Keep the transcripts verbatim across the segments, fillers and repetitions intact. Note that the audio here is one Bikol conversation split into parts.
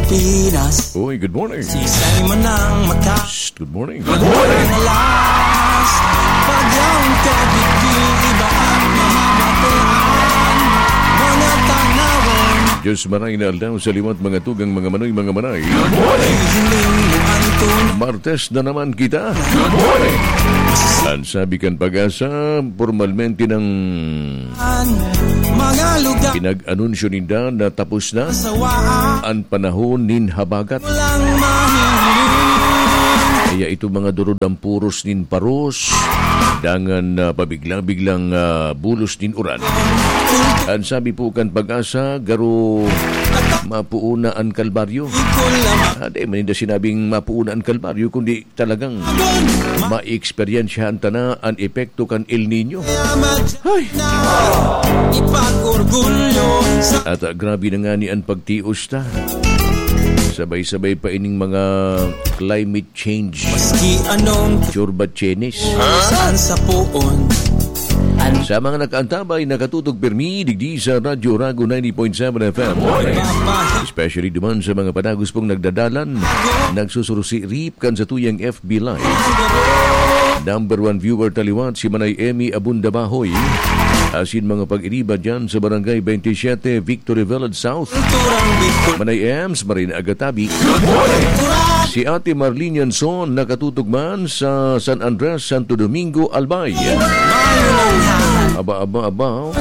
Pinas. Uy, good morning. Si Simon ang mata. Shh, good morning. Good morning. Alas, pagyaon ka, digdi, iba ang mamamatean. Mga tanawon. Diyos maray na aldaw sa liwat, mga tugang, mga manoy, mga manay. Good morning. Hiling mo ang tun- Martes na naman kita. Good morning. Ang sabi kan Pag-asa, pormalmente ng Mga lugar. Pinag-anunsyo ninda na tapos na Sawaan. Ang panahon nin habagat. Walang mahiling. Kaya ito mga durudang puros nin paros, dangan, ah, pabigla-biglang, ah, bulos nin uran. Ang sabi po kan Pag-asa, garo mapuuna ang kalbaryo. Ikaw lang. Ah, di man ninda sinabing mapuuna ang kalbaryo, kundi talagang ma-eksperyensyahan ta na an epekto kan El Niño. Ay! Ipag-orgulyo sa At, ah, grabe na nga ni an pagtios ta. Sabay-sabay pa ining mga climate change. Maski anong Churba chenis. Saan sa puon? Sa mga nakaantabay, nakatutok pirmi, digdi sa Radyo Rago ninety point seven F M. Especially duman sa mga padagos pong nagdadalan, nagsusurusi-rip kan satuyang F B Live. Number one viewer taliwat, si Manay Emmy Abunda Bahoy. Asin mga pag-iriba dyan sa Barangay twenty-seven, Victory Village South. Manay Ems, Marina Agatabi. Si Ate Marlene Yanson, nakatutok man sa San Andres, Santo Domingo, Albay. Aba, aba, aba, oh.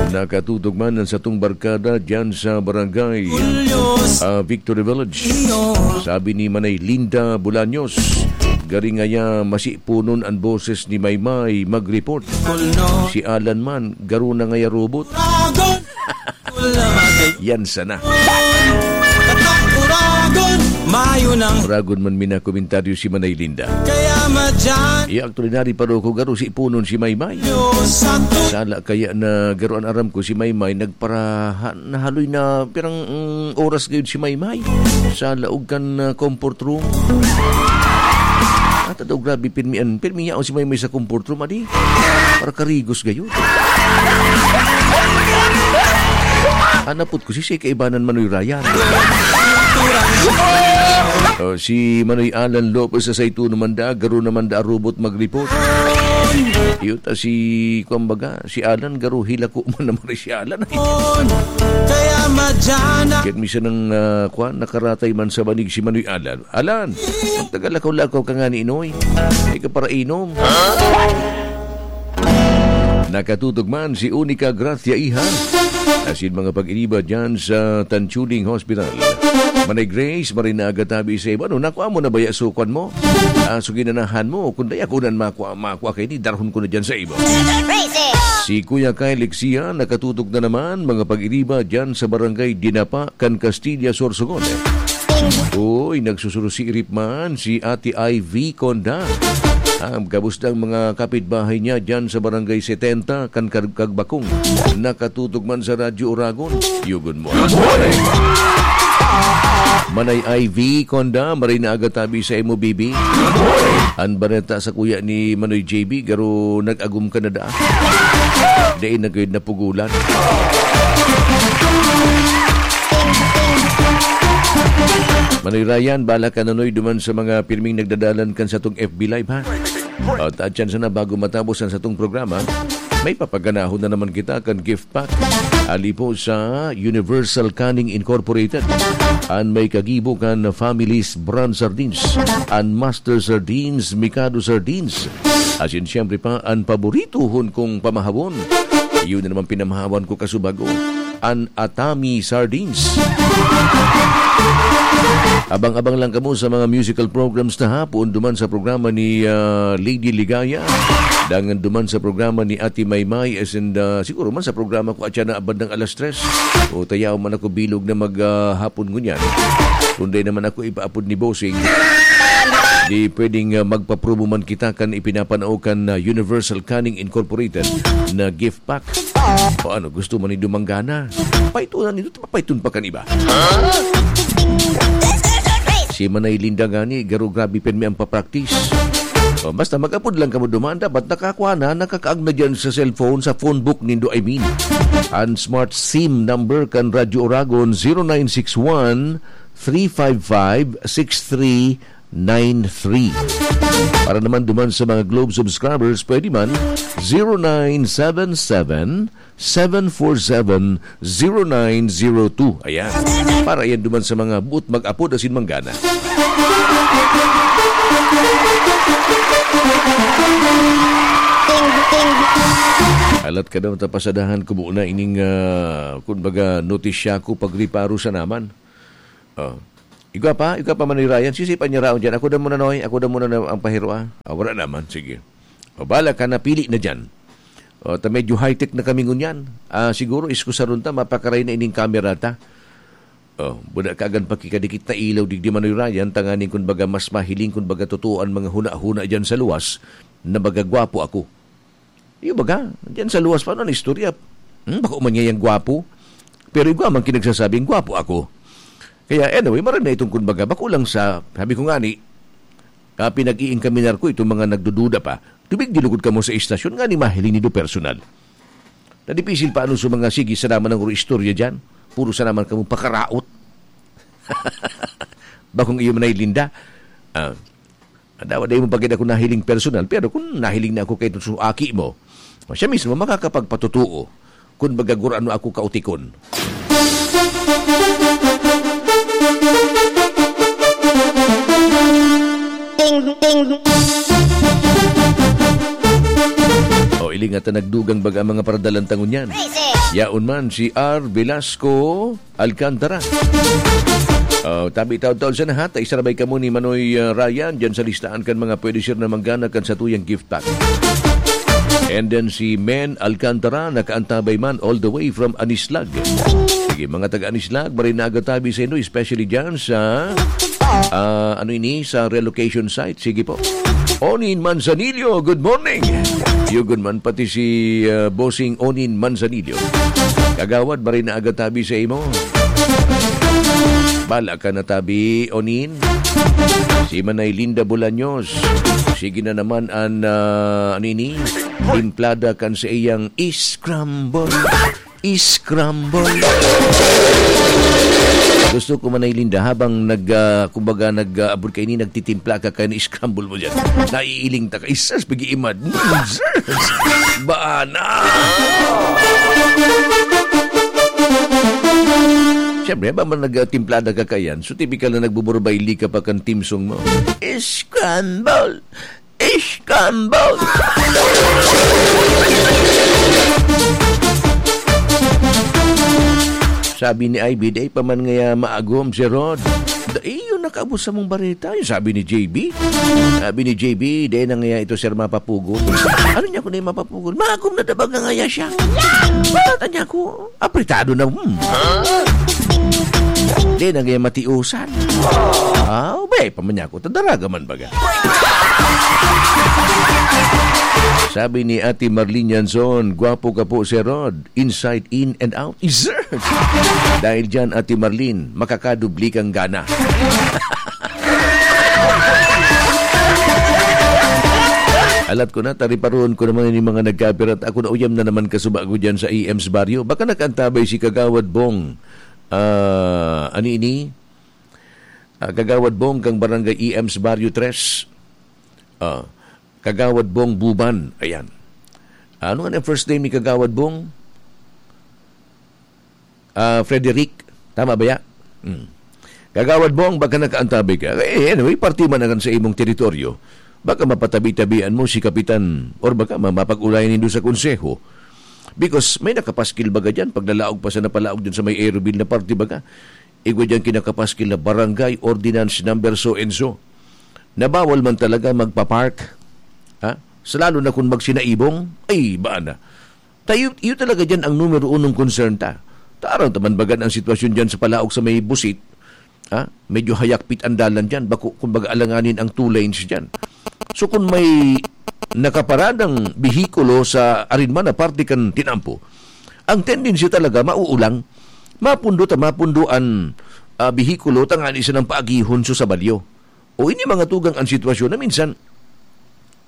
Nakatutok man ang satong barkada dyan sa Barangay, ah, Victory Village. Sabi ni Manay Linda Bolaños, "Gari ngaya masipunon an boses ni Maymay mag-report. Si Alan man, garo na ngaya robot." Yan sana. Uragon, mayo nang Uragon man minakomentaryo si Manay Linda. Kaya madyan. Iya, actually, nari pa ko garo si punon si Maymay. Sala kaya na garo an aram ko si Maymay, nagparaha-, nahaloy na pirang, mm, oras gayud si Maymay sa laog kan, ah, comfort room. At daw grabe, pirmi an, pirmi yaon si Maymay sa comfort room, adi. Para karigos gayud. Anapot ko, si, si kaibanan Manoy Ryan. O, si Manoy Alan Lopez sa Saito naman da, garo naman da robot mag-report. Iyo ta si, kumbaga, si Alan, garo hilako man naman si Alan. Kaya madyan na Kaya minsan ang, ah, kwan, nakaratay man sa banig si Manoy Alan. Alan, magtagal lakaw-lakaw ka nga ni Inoy. Ay ka para inom. Nakatutok man si Unica Gracia Iha. Asin mga pag-iniba dyan sa Tanchuling Hospital. Manay Grace, Marina Agatabi sa iba. No, nakuha mo na ba ya sukwan mo? Ah, so ginanahan mo. Kung daya ko nan makwa, makwa kayo, ni darahon ko na dyan sa iba. Si Kuya Kyle Lixia, nakatutok na naman, mga pag-iriba dyan sa barangay Dinapa, kan Castilla, Sorsogon. Uy, nagsusurusi-irip man si Ate Ivy Conda. Ang kabustang mga kapitbahay niya dyan sa barangay setenta, kan Kag-, Kagbakong. Nakatutok man sa Radyo Oragon. Yugon mo. Manay Ivy Conda, maray na aga tabi sa imo, bibi. An bareta sa kuya ni Manoy J B, garo nag-agom ka na da. Dai na gayud napugulan. Manoy Ryan, bala ka, Nonoy, duman sa mga pirming nagdadalan kan satong F B Live, ha? At, at yan sana, bago matapos ang satong programa, may papaganahon na naman kita kan gift pack. Ali po sa Universal Canning Incorporated. An may kagibo kan Family's Brand Sardines, an Master Sardines, Mikado Sardines. Asin siyempre pa, an paborituhon kong pamahabon. Yun na naman pinamahawan ko kasubago. An Atami Sardines. Abang-abang lang kamo sa mga musical programs na hapon, duman sa programa ni, ah, Lady Ligaya, dangan duman sa programa ni Ate Maymay, as in, ah, siguro man sa programa ko at siya na bandang alas tres. O tayaw man ako bilog na mag, ah, hapon ngunyan. Kung di naman ako ipaapod ni Bossing, di pwedeng, ah, magpapromo man kita kan ipinapanao kan, ah, Universal Canning Incorporated na gift pack. O ano, gusto man ni dumanggana? Paitunan nito, mapaiton pa kan iba. Si Manay Linda gani, garo grabe pirmi ang papraktis. O, basta mag-apod lang kamo duman, dapat nakakwa na, nakakaag na dyan sa cellphone, sa phone book nindo, I mean. An smart SIM number kan Radyo Oragon, zero nine six one, three five five, six three nine three. Para naman duman sa mga Globe subscribers, pwede man, zero nine seven seven, seven four seven, zero nine zero two. Ayan. Para yan duman sa mga buot mag-apod asin manggana. Alat ka daw, tapasadahan ko muna ining, ah, kumbaga, notisya ko pagriparo sa naman. Oh. Igwa pa, igwa pa man ni Ryan. Sisi pa niya raon dyan. Ako na muna, Noy. Ako na muna na ang pahiro, ah. Ah, wala naman. Sige. O, bala ka, napili na dyan. O, ta medyo high-tech na kami ngunyan. Ah, siguro, iskusaron ta, mapakaray na ining kamera ta. O, buda ka agan pakikadikit na ilaw, digdi Manoy Ryan, tanganing kun baga mas mahiling, kun baga totoo ang mga huna-huna dyan sa luwas, na baga gwapo ako. Iyo baga, diyan sa luwas pa, ano, istorya. Hmm, bako man niya yang gwapo. Pero igwa man kinagsasabing gwapo ako. Kaya anyway, maray na itong kun baga, bako lang sa, sabi ko nga ni, ah, pinag-iingkaminar ko itong mga nagdududa pa. Tubig dilugod kamo sa istasyon, nga ni mahiling nindo personal. Nadipisil pa ano sa mga sige, sa naman ng istorya dyan. Puro sa naman kamo pakaraot. Bakong iyo manay Linda. Ah, Dawa dai mo pa gid ako nahiling personal, pero kun nahiling na ako kay sa aki mo, o siya mismo makakapagpatotoo kun baga gurano ako kautikon. Ting, ting. O, ilingat na nagdugang baga ang mga paradalan ta ngunyan. Yaon man si R. Velasco Alcantara. Oh, tabi taon-taon sa nahat, ay sarabay kamo ni Manoy, ah, Ryan, dyan sa listahan kan mga pwede sir na manggana kan satuyang gift pack. And then si Men Alcantara, nakaantabay man all the way from Anislag. Sige, mga taga Anislag, maray na aga tabi sa inyo, especially dyan sa, ah, ano ini, sa relocation site. Sige po. Onin Manzanillo, good morning. Yugon man pati si, ah, Bossing Onin Manzanillo. Kagawad, maray na aga tabi sa imo. Bala ka na tabi, Onin. Si Manay Linda Bolaños. Sige na naman an, ah, ano ini? Timplada kan sa iyang scramble. Scramble. Gusto ko, Manay Linda, habang nag, ah, kumbaga, nag, ah, abot ka ini, nagtitimpla ka, kaya scramble mo dyan. Naiiling ta ka. Isas, pag-iimad. Bana! Siyempre, habang nagtimplada ka kayan, so typical na nagbuburbayli ka pa kan theme song mo. Scramble! Scramble! Sabi ni Ivy, "Dai pa man ngaya maagom si Rod." "Dai, yun nakaabot sa mong bareta," yung sabi ni J B. Sabi ni J B, "Dai na ngaya ito, sir, mapapugol." Ano niya kung dai mapapugol? Maagom na dabag na ngaya siya. Bata niya ako. Apretado na, hmm. Di na gaya matiusan. Ah, ubay pa man niya ako. Tadaraga man baga. Sabi ni Ate Marlene Yanson, "Gwapo ka po, Sir Rod. Inside, in, and out." Is there? Dahil dyan, Ate Marlene, makakadubli kang gana. Alat ko na, tariparoon ko naman yung mga nagkapirat. Ako na uyam na naman kasuba ko dyan sa E M's Barrio. Baka nakaantabay si Kagawad Bong. Ah, ano ini? Ah, Kagawad Bong kang Barangay E M's Barrio tres. Ah, Kagawad Bong Buban. Ayan. Ano nga na first name ni Kagawad Bong? Ah, Frederick. Tama ba ya? Hmm. Kagawad Bong, baka nakaantabay ka. Eh, anyway, parte man naman sa imong teritoryo. Baka mapatabi-tabian mo si Kapitan or baka ma-, mapag-ulayan nindo sa konseho. Because may nakapaskil baga dyan, paglalaog pa sa napalaog dyan sa may Aeroville na parte baga. Igwa dyan kinakapaskil na barangay ordinance number so and so. Na bawal man talaga magpa-park. Ha? Sa lalo na kung magsinaibong, ay, baan na. Tayo, iyo talaga dyan ang numero unong concern ta. Tarang taman bagan ang sitwasyon dyan sa palaog sa may busit. Ha? Medyo hayakpit ang dalan dyan. Bako, kumbaga, alanganin ang two lanes dyan. So, kung may nakaparadang behikulo sa arinman na parte kan tinampo, ang tendency talaga, mauulang. Mapundo ta, mapundo an, ah, behikulo, tangani siya ng paagihon so sa balyo. O ini mga tugang ang sitwasyon na minsan,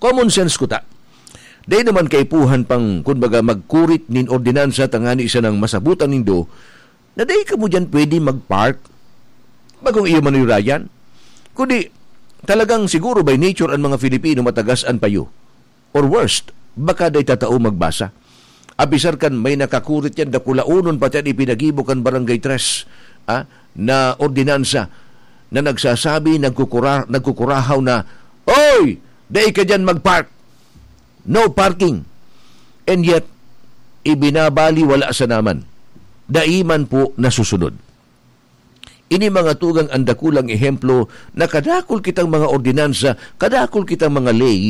common sense ko ta. Dai naman kaipuhan pang, kumbaga, magkurit nin ordinansa tangani siya ng masabutan nindo na dai kamo diyan pwede mag-park. Bagong iyo manuyrayan. Kundi, talagang siguro by nature an mga Filipino matagas an payo. Or worst, baka day tatao magbasa. Apisar kan may nakakurit yan, dakulaonon pati an ipinagibo kan Barangay Tres, ah, na ordinansa na nagsasabi, nagkukura-, nagkukurahaw na, "Oy! Dai ka dyan magpark! No parking!" And yet, ibinabali wala sa naman. Dai man po nasusunod. Ini mga tugang an dakulang ehemplo na kadakul kitang mga ordinansa, kadakul kitang mga ley